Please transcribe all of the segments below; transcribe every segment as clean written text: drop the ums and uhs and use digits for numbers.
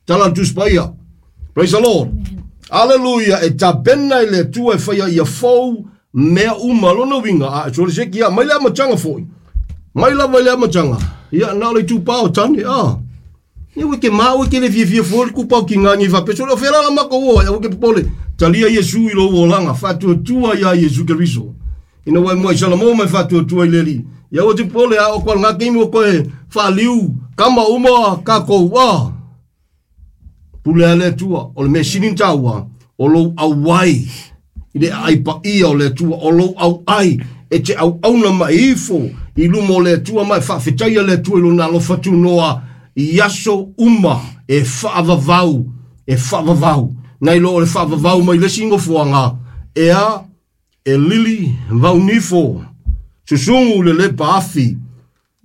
Tala le Tusi Paia. Praise the Lord. Aleluia, e tapena i le Atua e faia ia fou mea uma. Lona uiga, a sole se kia, mai le amataga foi. Mai lava i le amataga. Ia, na o le itupa o tane, a. Ia ua ke ma ua ke le fiafia foi le kupa o ki ngā ngi faapea. Sole o fea la la makou o ai, aua ke popole. Talia Iesu i lou olaga, faatuatua iā Iesu Keriso. Ina ua e muai salamo ma e faatuatua i le Alii. Ia aua te popole, a o koa lena taimi ua koe faaliu kama uma tatou, a. Pule a le Atua, o le mea sili ona taua, o lou auai i le aai paia o le Atua, o lou auai e te auauna ma e ifo i luma o le Atua ma e faafetaia le Atua i lona alofa tunoa i aso uma e faavavau, e faavavau. Nai lo o le faavavau mai le isi nofoaga, ea e lili vaunifo, susugu le lepa afi,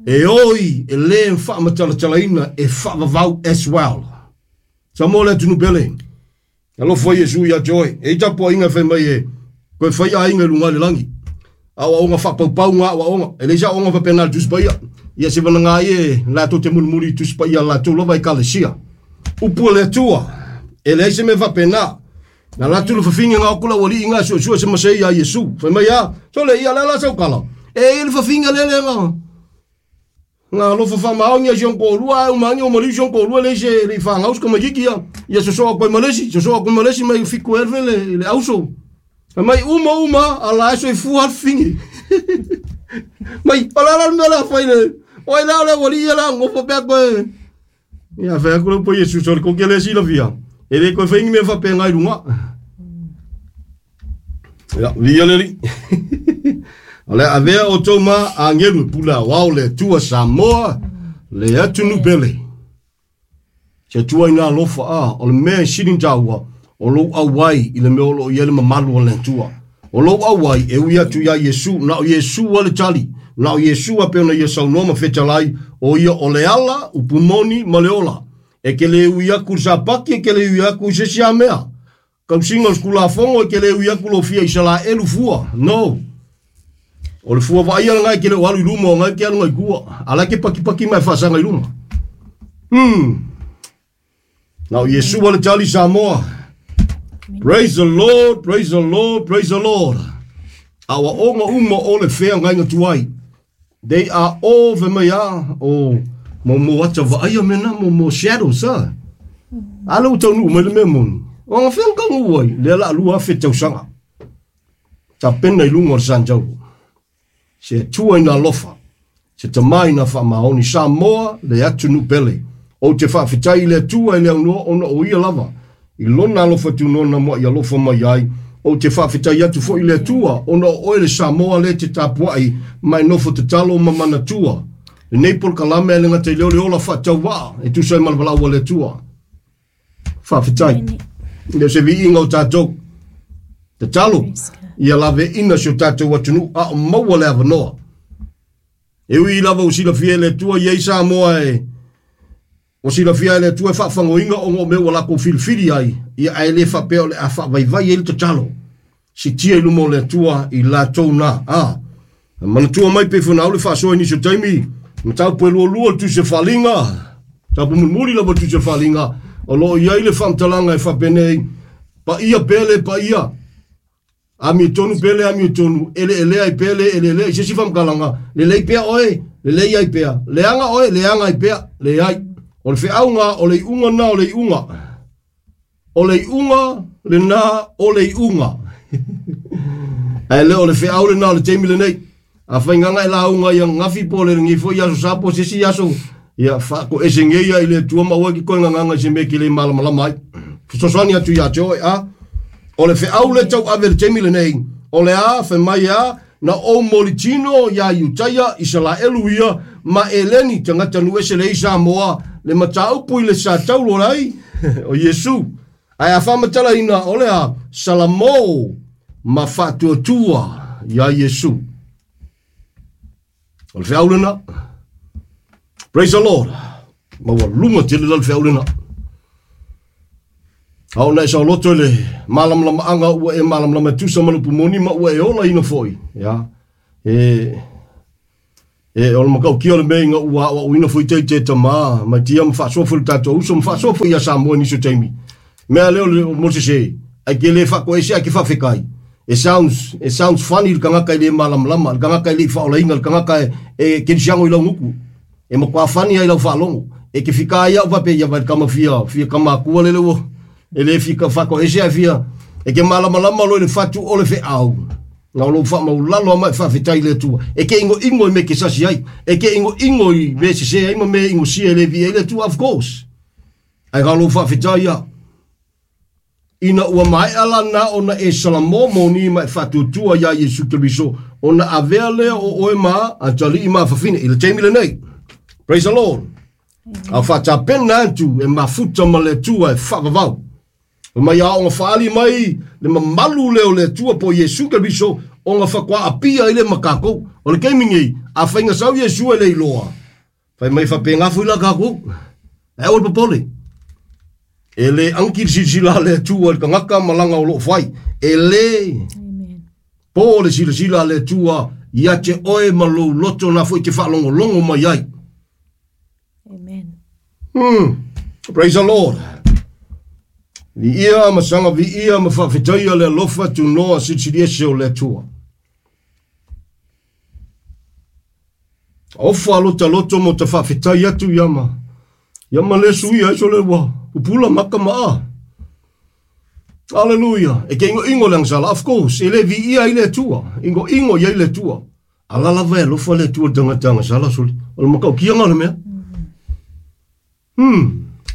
e oi e le faamatalatalaina e faavavau as well. Samoa le atunuu pele. Alofa Iesu ia te oe. E i tapuaiga e fai mai e koe fai aiga i luga i le lagi. Aoaoga faapaupau ngā aoaoga. E leai se aoaoga faapena i le Tusi Paia. Ia se vanaga ai e latou te mulimuli i Tusi Paia a latou lava Ekalesia. Upu a le Atua, e leai se mea faapena. Na latou le fafine nga o le aualii nga e suesue se masei ia Iesu. Fai mai a, sole ia le a la sau kala. E i le fafine lele nga. Nga alofa faamaoni ai si ona toalua ae uma ane ua maliu si ona toalua leai se le i fanau se tamaititi ia. Ia sosoa atu ai ma le isi, sosoa atu ma le isi mai fitu elfe le le auso. Fai mai uma uma a la e soifua le fafine. Mai o le a la le mea o le a fai le o ai la o le aualii ia la nofo pea koe. Ia fai atu le upu a Iesu sole koke le silafia. E le koe fai ni mea faapena i luga. Ia, viia le Alii. O le a avea outou ma agelu e pule aoao le Atua Samoa, le atunuu pele. Se Atua ina alofa, a, o le mea e sili ona taua, o lou auai i le mea o lo o i ai le mamalu o le Atua. O lou auai e ui atu iā Iesu, na o Iesu lava le tali, na o Iesu lava pei ona ia saunoa ma fetalai, o ia o le ala, upu moni ma le ola. E te le ui atu i le Sapati, e te le ui atu i se isi lava mea. Tausiga o le Tulafono e te le ui atu lou fia Isaraelu fua. No. O le fua vaaia lena e te le o alu i luma o na e te alu ngai tua. A la e te patipati ma e faasaga i luma. Na o Iesu a le tali Samoa. Praise the Lord, praise the Lord, praise the Lord. Aoaoga uma o le feagaiga tuai. They are all fai mai a o mo mo ata vaaia mea na mo mo shadows a. A lea ua taunuu mai le mea moni. O aga fea na taunuu ai? Lea la 2000 tausaga. Tapena i luga o le Santauro. Se Atua ina alofa, se Tama ina faamaoni, Samoa le atunuu pele. Ou te faafetai i le Atua e le aunoa ona o Ia lava i Lona alofa tunoa na mua'i alofa mai ai. Ou te faafetai atu foi i le Atua ona o oe le Samoa lea te tapua'i ma e nofo tatalo ma manatua lenei polokalame ae le gata i lea o le ola faatauvaa e tusa ai ma le valaau a le Atua. Faafetai. E le o se viiga o tatou. Tatalo ia laveina si o tatou atunuu a o maua le avanoa. E ui lava ua silafia e le Atua i ai Samoa e ua silafia e le Atua e faafagoina ona o mea ua latou filifili ai, ia ae le faapea o le a faavaivai ai le tatalo. Sitia i luma o le Atua i latou na. A manatua mai pei foi ona au le faasoa i nisi o taimi, mataupu e lualua le Tusi o Faaaliga, mataupu mulimuli lava le Tusi o Faaaliga, o lo o i ai le faamatalaga e faapenei, paia pea le paia, amiotonu pea le amiotonu, eleelea ai pea le eleelea. I se isi faamatalaga, lelei pea oe, lelei ai pea, leaga oe, leaga ai pea, leai. O le feauga, o le iuga lena o le iuga. O le iuga lena o le iuga. Ae le o le feau lena o le taimi lenei. Afai gaga e lauga ia ananafi po o le lenei foi aso sa po o se isi aso, ia faatoese nei ia i le Atua ma aua e te toe gagaga i se mea e te le malamalama ai. Fesoasoani atu ia te oe, a. O le feau lea tauave i le taimi lenei, o le a, fai mai a, na ou molitino iā Iutaia, Isalaelu ia, ma Eleni, tagata nuu ese leai Samoa, le mataupu i le sa taulo ai o Iesu. Ae a faamatalaina, o le a, Salamo ma faatuatua iā Iesu. O le feau lena. Praise the Lord. Maualuga tele la le feau lena. A ona e saoloto i le malamalamaaga ua e malamalama e tusa ma le upu moni ma ua e olaina foi. Ia. E, E o le matautia o le mea ina ua aoaoina foi ite tama ma tia ma faasoa foi le tatou uso ma faasoa foi ia Samoa i nisi o taimi. Mea lea o le mo sese, ai ke le faatoese ai ke faafekai. It sounds, it sounds funny le tagata e le malamalama, le tagata e le i faaolaina, le tagata e, e kerisiano i lau gutu. E matua funny ai lau faalogo. E ke fika ai au faapea ia vai le tama fia, fia tama atua lele ua, e le fia faatoese ae fia, e ke malamalama loa i le fatu o le feau. Na o lou faamaulalo ama e faafetai i le Atua. E ke ingoingo i mea e ke sasi ai. E ke ingoingo i mea e sese ai ma mea e ingosia e le viia ai le Atua, of course. Ae na o lou faafetai a. Ina ua maea la na ona e Salamo moni ma e faatuatua iā Iesu Keriso, ona avea lea o oe ma atalii ma fafine i le taimi lenei. Praise the Lord. A faatapena atu e mafuta ma le Atua e faavavau. Fai mai a ona faaali mai le mamalu lea o le Atua po o Iesu Keriso ona faatoa apia ai lea ma tatou. O le taimi nei, afai na sau Iesu e le iloa, fai mai faapena foi la tatou. Ae aua le popole. E le anki le silasila a le Atua i le tagata ma lana o lo o fai. E le Amen. po le silasila a le Atua ia te oe ma lou loto na foi te faalogologo mai ai. Amen. Praise the Lord. Viia ma saga viia ma faafetaia le alofa tunoa silisili ese o le Atua. Ofa lota loto mo ta faafetai atu ia ma ia ma le suia ai sole ua pupula maka ma a. Hallelujah. E ke ingoingo le agasala. Of course, e le viia ai le Atua. Ingoingo i ai le Atua. Ala lava e alofa le Atua i le tagata agasala sole. O le mataukiaga o le mea.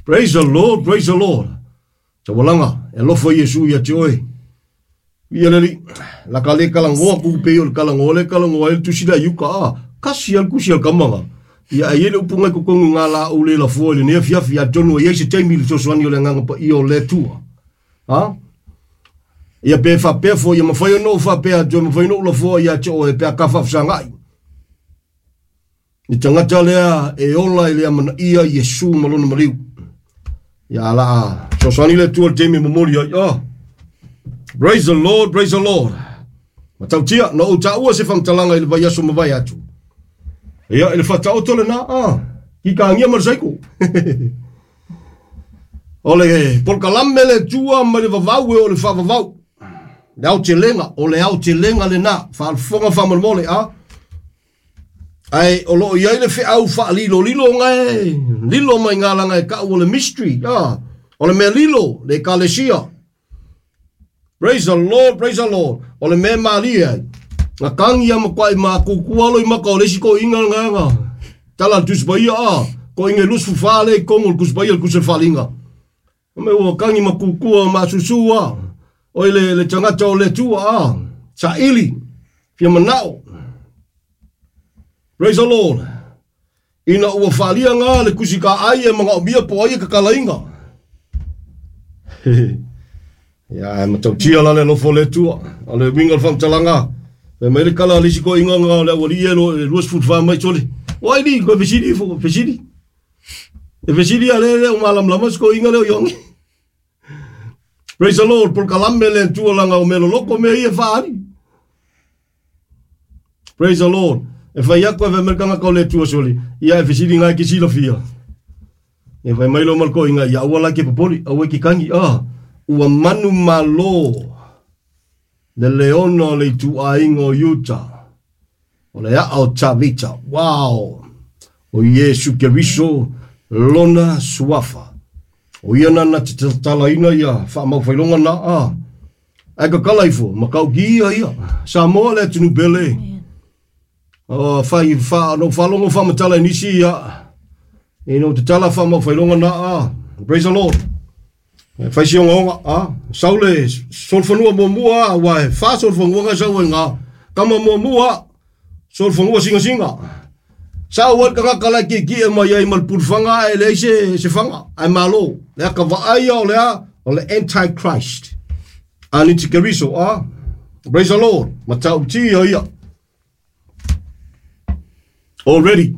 Praise the Lord, praise the Lord. Taualaga, e alofa Iesu ia te oe. Ia le alii, la ka le kalangoa ku pei o le kalangoa le kalangoa ai le tusi lea i uka a. Kasi a le kusi a le kamaga. Ia ai le upu ngai totonu ngā la ou le lafoa i lenei afiafi, atonu e i ai se taimi i le fesoasoani o le Agaga Paia o le Atua. Ha? Ia pe faapea foi, ia mafai ona ou faapea atu, e mafai ona ou lafoa ia te oe pe a ka faafesagai. Le tagata lea e ola i le amanaia Iesu ma lona maliu. Ia la a fesoasoani le Atua i le taimi e momoli ai. Oh. Praise the Lord, praise the Lord. Matautia, na ou taua se faamatalaga i le vaiaso mavae atu. Ia, i le faataoto lena, ah, kikagia ma le saiko. O le polokalame le Atua mai le vavau e o le faavavau. Le aotelega, o le aotelega lena, faafofoga faamolemole, a. Ae o lo o i ai le feau faalilolilo nga e lilo mai ngā langa e kau o le mystery, a. O le mea lilo, le ekalesia. Praise the Lord, praise the Lord. O le mea malie ai. Nga kangi a makuai ma kukua lo i maka o le isi ko inga nga nga. Tala le Tusi Paia a. Ko inga lusu fa le i kongo le Tusi Paia le kusi le whalinga. O me ua kangi ma kukua ma susu a. O i le, le tangata o le tua a. Sa ili. Fia manao. Praise the Lord. Ina ua whalia ngā le kusi ka ai e manaomia po ai e kakalainga. Ia, e matautia la le alofa o le Atua. O le uiga o le faamatalaga, fai mai le kala a le isi toeaiina nga o le aualii e lo- e 24 mai sole. O ai li, koe fesili ifo, fesili. E fesili a le le o malamalama si toeaina lea o Ioane. Praise the Lord, polokalame le Atua langa o mea loloko mea ia e faaali. Praise the Lord. E fai atu e fai mai le tagata o le Atua sole, ia e fesili nga e ke silafia. E fai mai lo ma le toeaina, ia aua la ke popoli, aua e ke kagi, ah, ua manumalo le leona o le ituaiga o Iuta, o le aa o Tavita. Wow! O Iesu Keriso lona suafa. O ia na na te tatalaina ia faamaufailoga na, ah, Ae kakala ifo, ma kauki ia ia. Samoa le atunuu pele. O, whai, wha, no whalongo whamatala i nisi ia. E no te tala wha mauwhaironga nā a. Praise the Lord. E whai si onga onga, a. Sau le solfanua mua mua, a, wa e wha solfanua ngai sau e ngā. Kama mua mua, solfanua singa singa. Sau ai tagata la ki ki e mai ai ma le pulufanga e leai se se fanga ae malo le aka vaai ia o le a o le antichrist anitikeriso a praise the Lord matautia ia already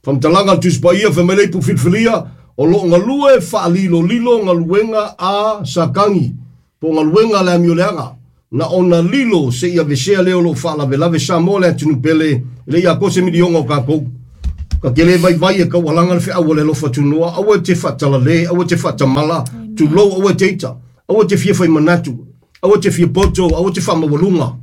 Faamatalaga a le Tusi Paia fai mai le ipu filifilia o lo o galue faalilolilo galuega a Satani po o galuega a le amioleaga. Na ona lilo se ia vesea leo lo whaalavelave Samoa le atunu pele le ia ko se milionga o kākou. Ka ke le vai vai e kaualanga le wheaua le lofa tunoa, aua te whaatalale, aua te whaatamala, tulou aua te ita, aua te fia whai manatu, aua te fia poto, aua te whaamawalunga.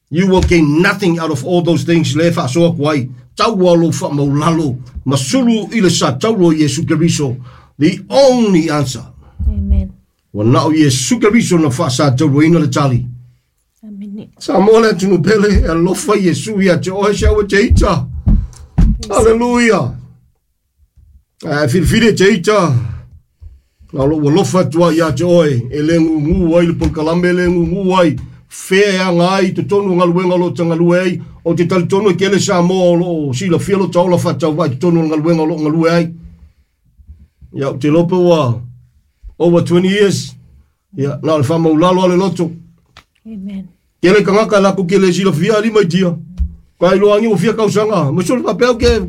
You will gain nothing out of all those things le whaasoa kuai. Taua lo whaamaulalo, masulu i le sa taulo Yesu Keriso. The only answer. Amen. Wa nao Yesu Keriso na whaasa taulo ina le tali. Amen. Samoa le atunu pele, e alofa Yesu ia te ohe se aua te ita. Hallelujah. Filifili te ita. Na lo ua lofa atua ia te oe. E le ngungu ai le polkalame le ngungu ai. Fea ngai te tonu ngaluenga lo tangalue ai. O te talitonu e kele Samoa o lo sila fia lo taola whatau vai te tonu ngaluenga lo ngalue ai. Ia, te lope ua over 20 years. Ia, na le whamaulalo ale loto. Amen. Kele kangaka la ku kele sila fia ali mai tia. Kai lo angi o fia kausanga. Masol papel ke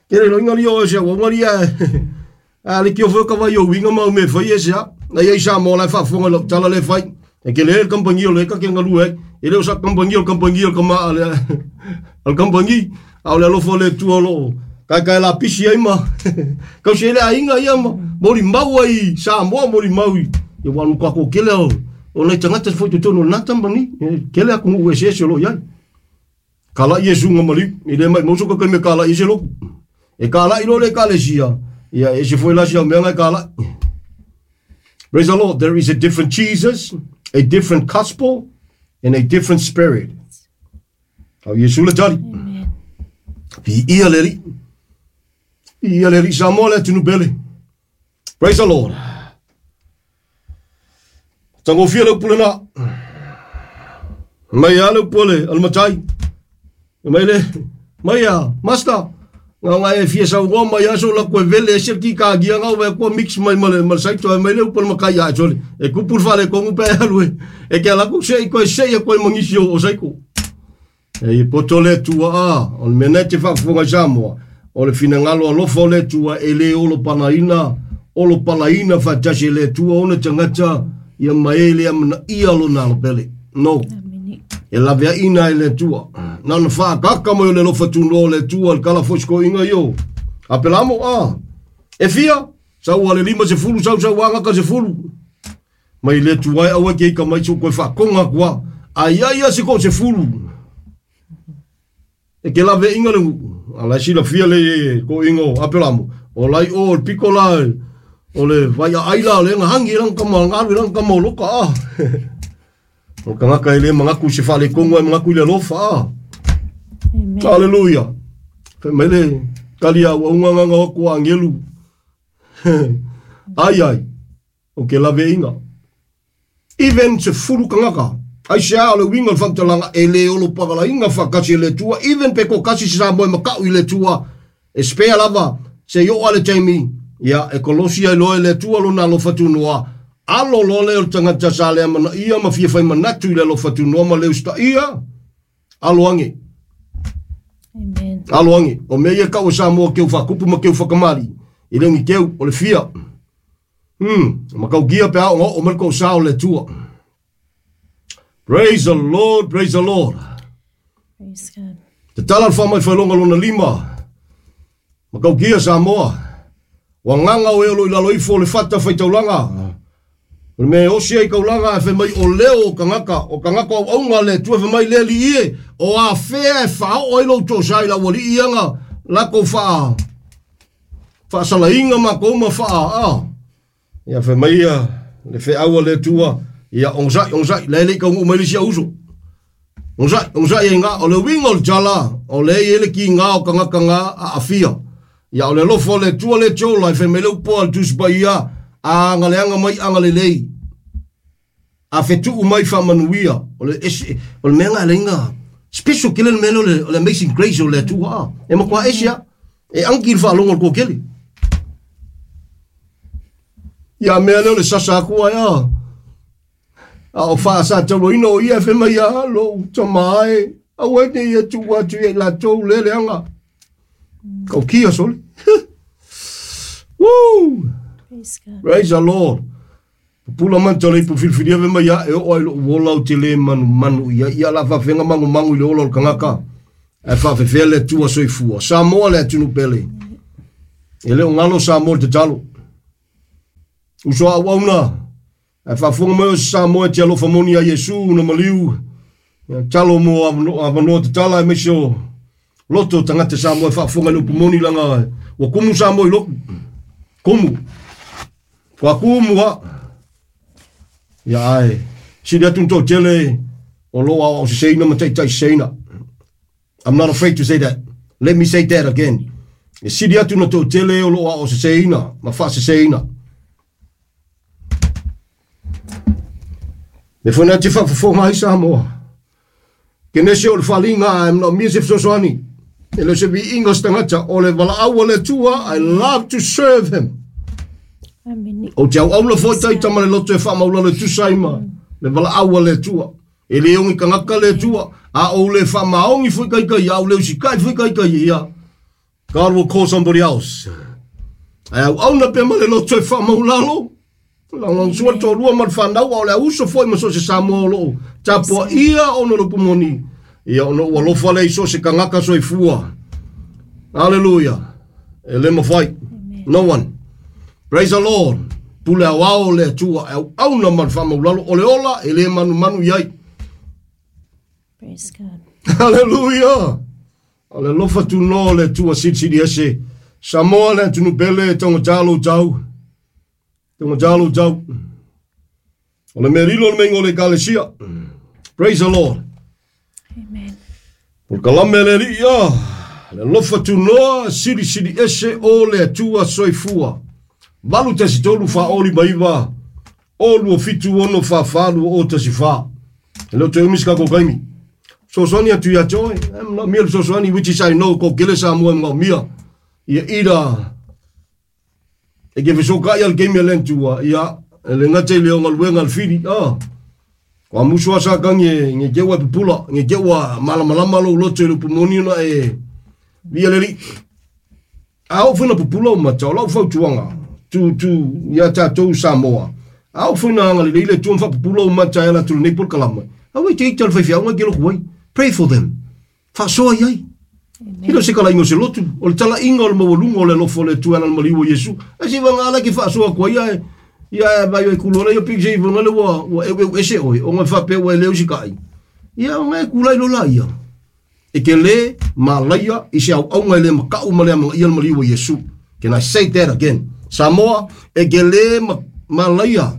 kele lo ingali o se o ngali a. A le ki o fo ka vai o winga mau me fai e se a. Na ia isa mo la fa fonga lo tala le fai. E kele el kampangi o le ka ke ngalu e. E le o sa kampangi o kampangi o kama ale. Al kampangi au le lo fo le tu o lo. Kai kai la pisi ai ma. Kau se le ainga ia ma. Mori mau ai sa mo mori mau. E wanu ka ko kele o. O nei tangata foi te tonu nā tambani, kele aku ngu ese ese lo iai. Kala i e sunga maliu, i le mai moso ka me kala i se loku. E kala i lo le kale sia, ia e se foi la sia mea ngai kala. Praise the Lord, there is a different Jesus, a different gospel, and a different spirit. Au Yesu le tali. Amen. Pi ia le ri. Pi ia le ri Samoa le atunu pele. Praise the Lord. Tangofia le upule na. Mai a le upule, al matai. Mai le, mai a, master. Ngā ngā e fia sau ngā mai aso la koe vele e se ki ka gia ngā wea kua mix mai male male saito e mai le upule makai a sole. E kupul whale kongu pe alu e. E kia laku se i koe se i koe mangisi o saiko. E i poto le tua a, o le mena te whakafonga Samoa. O le finangalo alofa o le tua e le olo panaina, olo palaina whatasi le tua ona tangata ia maele a mana ia lo nalo pele. No. Amen. E lave ina e le tua. Nana whaakaka mai o le lofa tuno le tua le kala fosko inga io. A pelamo a. E fia, sau ale lima se fulu, sau sau anga ka se fulu. Mai le tua e aua ke ika mai su koe whakonga kua. Ai ai a se ko se fulu. E ke lave inga le ala sila fia le ko ingo a pelamo. O lai o le piko la o le vai a aila le nga hangi lang ka ma ngalu lang ka ma loka a. O kangaka ele mangaku se fale kongo e mangaku le lofa a. Amen. Hallelujah. Fe mele kalia wa unga nganga o ku angelu. Ai ai. O ke lave inga. Even se fulu kangaka. Ai se a le winga whantalanga e le olo pagala inga whakasi le tua. Even pe ko kasi sa moe makau i le tua. E spea lava se yo ale taimi. Ia e kolosia i loe le tua lo nā lo whatunoa. Alo lo le o tangata sa le amana ia ma fia whai manatu i le lo whatunoa ma le usta ia. Alo ange. Amen. Alo ange. O mea ia kau Samoa keu whakupu ma keu whakamari. I lengi keu o le fia. Makau gia pe ao o melko sa o le tua. Praise the Lord, praise the Lord. Praise God. Te tala le whamai whailonga lona lima. Makau gia Samoa. Wa nganga o elo i lalo ifo le fata whaitaulanga. O le mea osi ai kaulanga e whai mai o leo o kangaka. O kangaka o aunga le tua whai mai le li ie. O a whea e whao o ilo tō sai la wali ianga. Lako wha. Whaasala inga ma koma wha a. Ia whai mai ia le whai aua le tua. Ia ongzai, ongzai. Le le kaungu mai lisi auso. Ongzai, ongzai e ngā. O le winga o le tala. O le ele ki ngā o kangaka ngā a awhia. Ia o le lofo le tua le tiola. I whai mai le upoa le tusipa ia. A ngaleanga mai a ngalelei. A whetu mai wha manuia. O le ese, o le mea ngā le inga. Special kele le mea o le Amazing Grace o le tua a. E makua ese a. E anki le whaalongo le kōkele. Ia mea leo le sasa akua ia. A o whaasa taulo ino o ia whe mai a lo utamae. A wene ia tua atu e la tau lele anga. Kau kia soli. Woo! Praise God. Praise the Lord. Pupula mata le ipu filifilia ve mai ia e o ai lo wola o te le manu manu ia ia la whawhenga mangu mangu i le ola o le kangaka. Ae whawhewhea le Atua soifua. Samoa le atunu pele. E le o ngalo Samoa le tatalo. Uso au auna. Ae whawhonga mai o Samoa e te alofa moni a Iesu na maliu. Ia talo mo avanoa tatala e meise o loto tangata Samoa e whawhonga le upu moni langa. Ua kumu Samoa i loku. Kumu. Kua kumu ha. Ia ai. Sili atu tō tele o loa o se seina ma taitai seina. I'm not afraid to say that. Let me say that again. E sili atu na tō tele o loa o se seina ma wha se seina. Me whana te whawhawhonga ai Samoa. Ke nese o le whalinga ai mna mia se fesoasoani. E le se vi inga stangata o le wala au le tua. I love to serve him. Amen. O te au aula foi taita ma le loto e whamaulalo e tusaima. Le wala au le tua. E le ongi kangaka le tua. A o le whamaongi foi kai kai. A o le usikai foi kai kai ia. God will call somebody else. Ai au auna pe ma le loto e whamaulalo. Langong sua tō lua ma le whanau o le auso foi ma so se Samoa o loo. Tapua ia o no lupu moni. Ia ono ua lofa le iso se kangaka soifua. Hallelujah. E le mawhai. No one. Praise the Lord. Pule au ao le Atua. Au au na ma le whamaulalo. O le ola e le manu manu iai. Praise God. Hallelujah. O le lofa tu no le Atua sili sili ese. Samoa le atunu pele tonga talo tau. Tonga talo tau. O le merilo le mengo le kalesia. Praise the Lord. Amen. O le kalame le li ia. Le lofa tu noa sili sili ese o le Atua soifua. Valu tasi tolu fa oli maiva. O lua fitu ono fa falu o tasi fa. E leo te umis kako kaimi. Sosoani atu ia toe. Em la mia le sosoani which is I know ko kele sa mua ngā mia. Ia ira. E ke fesoka ia le keimi a lentua. Ia e le ngate i leo ngaluenga le whiri. Ah. Ko a musu asa ka nge nge keua pupula. Nge keua malamalama lo loto i le pumoni ona e via leli. A o whina pupula o mata o lau fautuanga. Tu tu ia tātou Samoa. A o whina anga le leile tuam whapupula o mata e ala tulu nei kalama. A wei te ita le whaiwhia unga ke loko wai. Pray for them. Whasoa iai. Hilo se kala ingo se lotu. O le tala inga o le mawalunga o le lofo le tuana le maliu o Yesu. A se wanga ala ki whasoa kua ia e. Ia e vai o e kulo ia pik se i wanga le ua ua ewe u ese oi. O ngā whape ua e leo si kai. Ia o ngā e kula i lola ia. E ke le malaia i se au aunga i le makau ma le amanga ia le maliu o Yesu. Can I say that again? Samoa e ke le malaia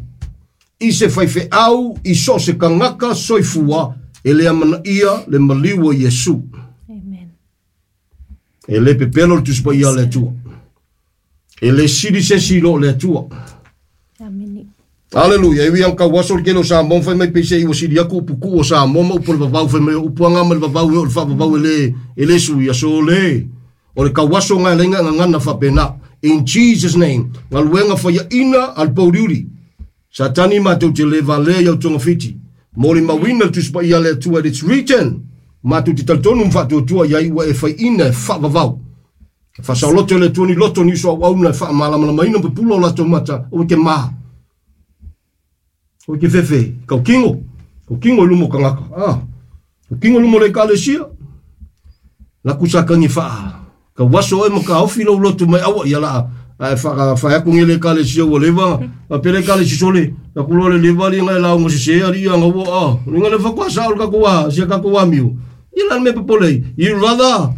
i se whaiwhe au i so se kangaka soifua e le amana ia le maliu o Yesu. Amen. E le pepelo le tusipa ia le Atua. E le siri se silo le Atua. Amen. Hallelujah. E wi ang waso le kelo sa mo fai mai pese i wasiri aku upu ku o sa mo ma upu le vavau fai mai upu anga ma le vavau e o le whavavau e le sui a so le. O le kawaso ngai lenga ngangana whapena. In Jesus name. Ngaluenga whaia ina al pauriuri. Satani mātou te le vale iau tonga whiti. Mori mawina le tusipa ia le Atua. It's written. Mātou te taltonu mwhatuatua ia ua e whai ina e whavavau. Whasauloto le Atua ni loto ni uso au auna e whaamalamalama ina pupula o lato mata. O ke maha. O ke fefe. Kau kingo. Kau kingo i lumo kangaka. Ah. Kau kingo i lumo le kalesia. La kusakangi whaa. Ka waso e maka ofi lo loto mai awa ia la. Ai whaka whai aku ngele kalesia ua lewa. A pele kalesi sole. Ka kulo le lewa li ngai lau ngosi se ali ia ngau a. Linga le whakwa sa ol kakuwa. Sia kakuwa miu. Ia lan me popolei. I rather.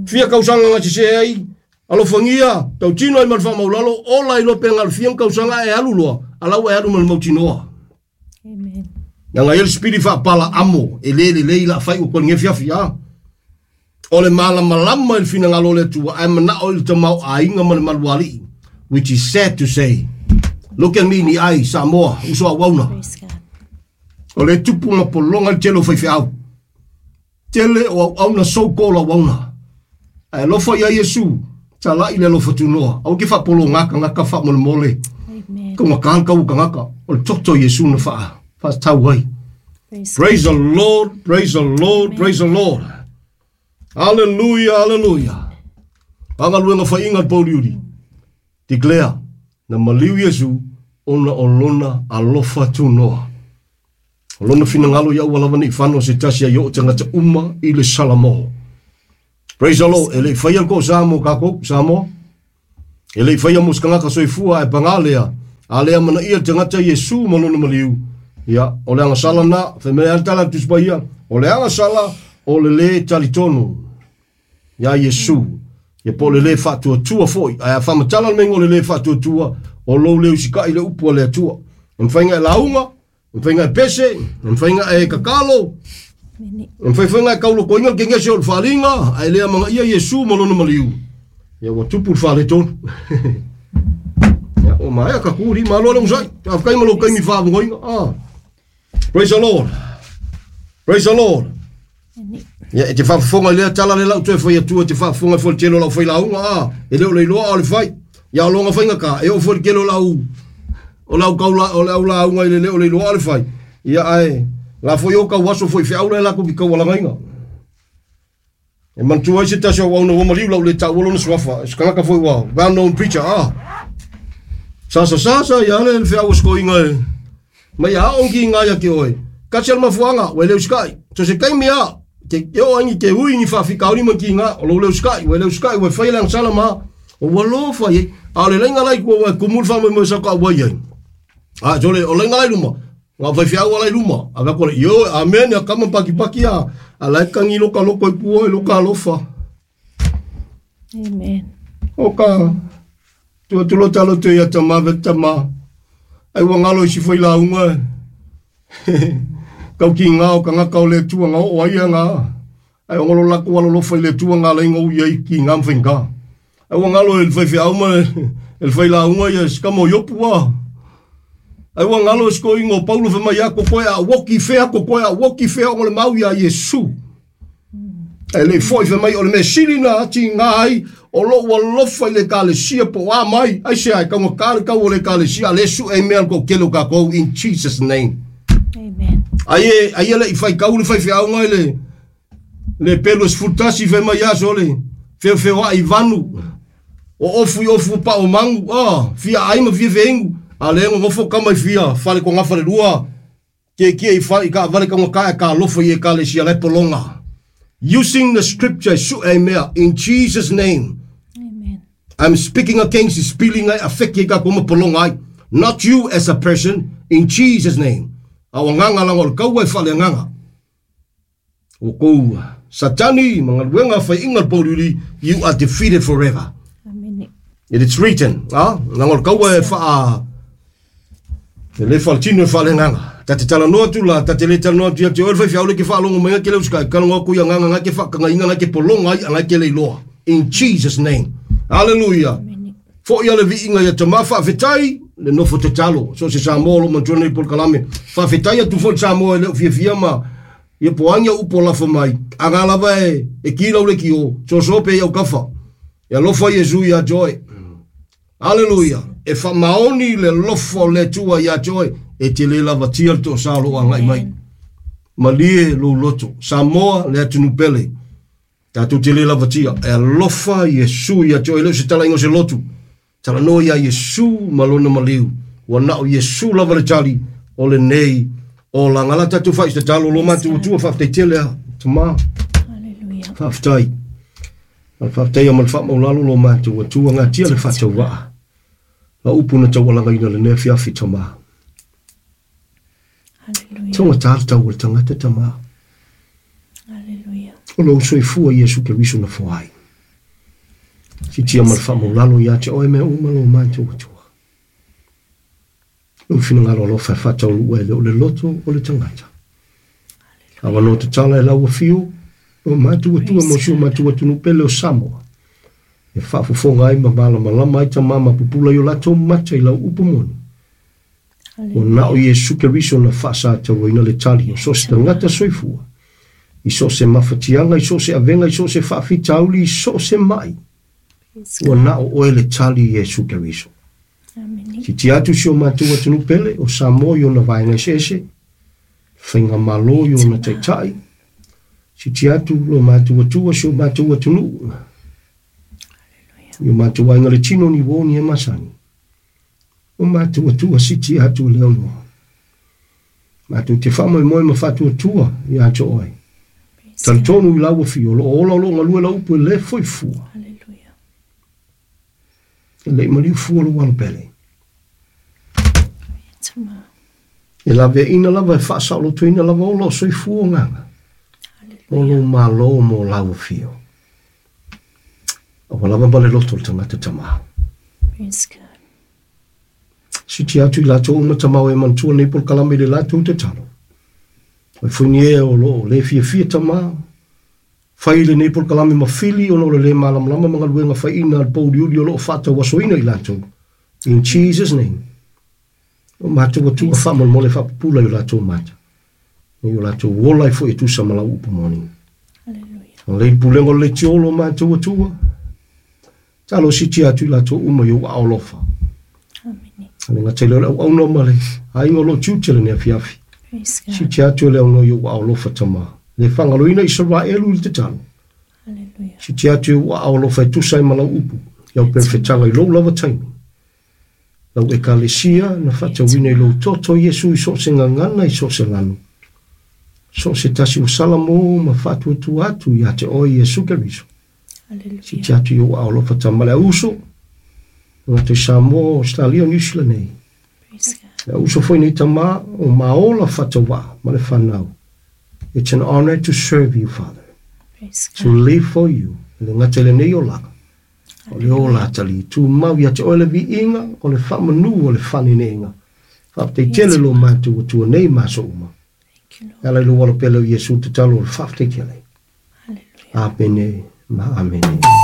Fia kausanga ngā se ai. Alofangia. Tau tino ai malwha maulalo. Ola i lope ngā fia kausanga e alu loa. Alau e alu mal mautinoa. Amen. Nanga ele spiri whapala amo. E le le le ila whai o kone ngewhia fia. O le malamalama i le finagalo le Atua, ae manao i le tamau aiga ma le maluali'i. Which is sad to say. Look at me in the eye, Samoa, uso au auna. Praise God. O le tupu ma polonga le tele o whaiwheau. Tele o au auna so-called au auna. Ae lofa ia Iesu, talai le alofa tunoa. Au ke whapolo ngaka ngaka wha mole mole. Amen. Ko ngaka kau kangaka. O le toto Iesu na wha. Wha tau ai. Praise Praise the Lord, praise the Lord, Amen. praise the Lord. Hallelujah, hallelujah. Pangaluenga whainga le pauriuri. Declare, na maliu Iesu, Ona o lona alofa tunoa. O lona finagalo ia ua lava nei fano se tasi ai o tagata uma i le salamo. Praise the Lord. E le i faia le toasa mo kakou, Samoa. E le i faia mo se tagata soifua e paga lea. A le amanaia le tagata Iesu ma lona maliu. Ia, o le agasala na, fai mai lava le tala a le Tusi Paia, o le agasala o le lē talitonu iā Iesu. Ia po o le lē faatuatua foi. Ae a faamatala le meiga o le lē faatuatua, o lou le usikai i le upu a le Atua. E mafai ona e lauga, e mafai ona e pese, e mafai ona e tatalo, e mafai foi ona e taulotoina le kegese o le faaaliga, ae le amanaia Iesu ma lona maliu, ia ua tupu le faaletonu. Ia, ua maea ka kuli, malo le onosai. Faafetai ma lou taimi faavogoina. Ah. Praise the Lord. Praise the Lord. Ia, e te faafofoga i lea tala le lau toe fai atua, e te faafofoga foi le tele o lau failauga, a, e le o le iloa a o le fai. Ia, o loga faigata, e oo foi le tele o lau, o lau kaula, o lau lauga i le le o le iloa a o le fai. Ia, ae, la foi o kau aso foi feau le latou ki taualagaina. E manatua ai se tasi o auauna ua maliu lau le taua lona suafa, se kanaka foi ua well known preacher, a. Sasa sasa ia le feau o sikoiga e mai a o ki ngai ake oe. Kasi al mafuanga, ua le usikai. So se taimi a, ke ke o angi ke ui ni faafikauli ma ki ngā, o lou le usikai, ua le usikai, ua fai le agasala ma, o ua lofa i, a o le lainga lai kua ua kumu le faamoemoe sa ka ua i ai. A, so le, o lainga lai luma, ngā faifeau ala i luma, a vea kore, ioe, amen, a kama pakipaki a, a lai kangi loka loko i pua i loka alofa. Amen. O ka, tua tulo talo te ia tama ve tama, ai ua ngalo i si fai launga e. Kau ki ngā o ka ngaka o le tua ngā o ai a ngā. Ai o ngolo lako alo lofa i le tua ngā lai ngau i ai ki ngā mwhainga. Ai ua ngalo e le faifeau ma e le fai launga ia si kama o Iopu a. Ai ua ngalo e siko ingo o Paulo fai mai a ko koe a woki whea, ko koe a woki whea o le mau ia Iesu. E le foi fai mai o le mea sili na ati ngā ai o lou alofa i le ekalesia po o a mai. Ai se ai kaunga ka le kau o le ekalesia a le su e mea ko kele o kakou in Jesus name. Amen. Ai e ai e le i fai kau le fai feaunga i le le pelu e 11 fai mai aso le feofeo ai vanu o ofu i ofu pa o mangu a fia ai ma fia feingu a le ngofo kama i fia fale ko ngafa le lua ke kia i fa i ka vale ka ka e ka lofa i e ka le sia le polonga using the scripture su e mea in Jesus name. Amen. I'm speaking against the spilling ai affect ka koma polonga ai, not you as a person, in Jesus name. A o nganga langa o le kaua e whale nganga. O kou Satani, mga luenga whai inga le you are defeated forever. Amen. It is written, ah, langa o le kaua e wha e le whaletino e whale nganga. Ta te tala noa tu la, ta te le tala noa tu ia te oe whai whiaule ke whaalongo mai ke le uskai, kalongo ku ia nganga nga ke whakanga inga nga ke polonga ai nga ke le iloa. In Jesus name. Hallelujah. Amen. Fo ia le viinga ia te ma whaafetai, le nofo te talo. So se Samoa lo mantua nei pol kalame. Whaafetai atu fo le Samoa e leo fia fia ma ia poangi au upo lafa mai. A ngā lava e, e ki lau le ki o. So so pe iau kafa. Ia lofa Iesu ia joy. Hallelujah. E wha maoni le lofo le tua ia joy. E te le lava tia le to sa lo a ngai mai. Malie lo loto. Samoa le atunu pele. Tātou te le lava tia. E alofa Iesu ia joy. Leo se tala ingo se lotu. Tala noa ia Iesu ma lona maliu. Ua nao Iesu lava le tali o le nei o la ngala tātou whai se talo lo mātou tua whaafetai tele a. Tama. Hallelujah. Whaafetai. Al whaafetai a ma le whaamaulalo lo mātou tua ngā tia le whaatau waa. La upu na taualanga ina le nea fiafi tama. Hallelujah. Tonga tātau o le tangata tama. Hallelujah. O lou soifua Iesu Keriso na foai. Si tia ma le whaamaulalo ia te oe mea uma lo mātou atua. Lou finagalo alofa e whaatau e le o le loto o le tangata. Awa no te tala e lau whio, o mātou atua mo si o mātou atunu pele o Samoa. E whaafofonga ai ma malamalama ai ta mama pupula i o latou mata i lau upu moni. O nao Iesu Keriso na whaasa tau ina le tali o so se tangata soifua. I so se mawhatianga, i so se avenga, i so se whaafitauli, i so se mai. Praise Ua God. nao oe le tali Iesu Keriso. Amen. Si ti atu si o mātou atunu pele, o Samoa i ona vaenga ese, whainga malo i ona taitai. Si ti atu lo mātou atua si o mātou atunu. I o mātou ainga le tino ni wō ni e masani. O matou Atua siti atu le aunoa. Matou te faamoemoe ma faatuatua ia te oe. Talitonu i lau afio, o lo o ola o lo o galue lau upu e le foi fua. E le i maliu fua lou alo pele. E laveaiina lava e faasaolotoina lava ola o soifua agaga. O lou malo mo lau afio. Aua lava ma le loto o le tagata tamā. Praise God. Siti atu i latou uma tamao e manatua nei polokalame i le latou tatalo. O fuini e o lo o le fiafia tamā. Fai lenei polokalame ma fili ona o le le malamalama ma galuega faiina a le pouliuli o lo o faatauasoina i latou. In Jesus name. O matou Atua faamolemole faapupula i o latou mata. I o latou ola ai foi e tusa ma lau upu moni. Hallelujah. O le pulega o le tiolo o matou Atua. Talo siti atu i latou uma i ou aao alofa. Amene. Le gata i lea o le auauna ma le aiga o lo o tiute lenei afiafi. Praise God. Siti atu e le aunoa i ou aao alofa tamā. Le faagaloina Isaraelu i le tatalo. Hallelujah. Siti atu i ou aao alofa e tusa ai ma lau upu. Lau perefetaga i lou lava taimi. Lau ekalesia na faatauina i lou toto Iesu i so o se gagana i so o se lanu. So o se tasi ua salamo ma faatuatua atu ia te oe Iesu Keriso. Hallelujah. Siti atu i ou aao alofa tama le auso. Tagata i Samoa, Australia, New Zealand nei. Praise God. Le auso foi nei tama o maola faatauvaa ma le fanau. It's an honor to serve you, Father. Praise To God. live for you. Le gata i lenei olaga. O le ola atalii tumau ia te oe le viiga, o le faamanu o le faanenega. Faafetai tele lo matou Atua nei ma aso uma. Thank you, Lord. E ala i lou alo pele o Iesu tatalo o le faafetai tele. Hallelujah. Amene ma amene.